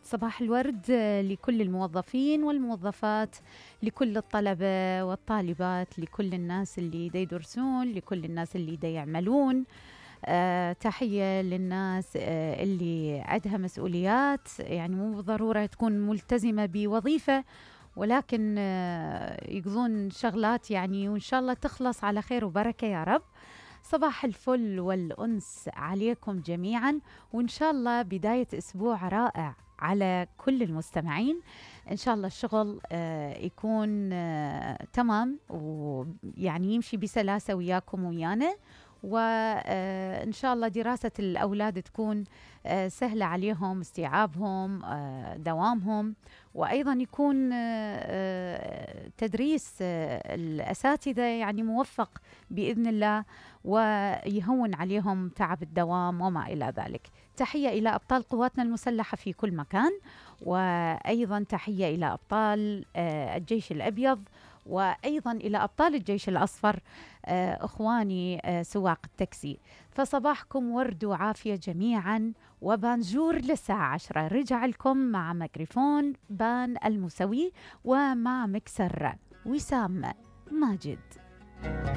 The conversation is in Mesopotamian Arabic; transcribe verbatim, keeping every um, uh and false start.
صباح الورد لكل الموظفين والموظفات، لكل الطلبة والطالبات، لكل الناس اللي دا يدرسون، لكل الناس اللي دا يعملون. أه تحية للناس أه اللي عندها مسؤوليات، يعني مو بالضرورة تكون ملتزمة بوظيفة، ولكن أه يقضون شغلات يعني، وإن شاء الله تخلص على خير وبركة يا رب. صباح الفل والأنس عليكم جميعا، وإن شاء الله بداية أسبوع رائع على كل المستمعين. إن شاء الله الشغل آه يكون آه تمام، ويعني يمشي بسلاسة وياكم ويانا، وإن شاء الله دراسة الأولاد تكون آه سهلة عليهم، استيعابهم، آه دوامهم، وأيضا يكون آه تدريس آه الأساتذة يعني موفق بإذن الله، ويهون عليهم تعب الدوام وما إلى ذلك. تحية إلى أبطال قواتنا المسلحة في كل مكان، وأيضا تحية إلى أبطال آه الجيش الأبيض، وأيضا إلى أبطال الجيش الأصفر، آه أخواني آه سواق التاكسي. فصباحكم ورد وعافية جميعا، وبانجور للساعة عشرة رجع لكم مع ميكروفون بان المسوي، ومع مكسر وسام ماجد.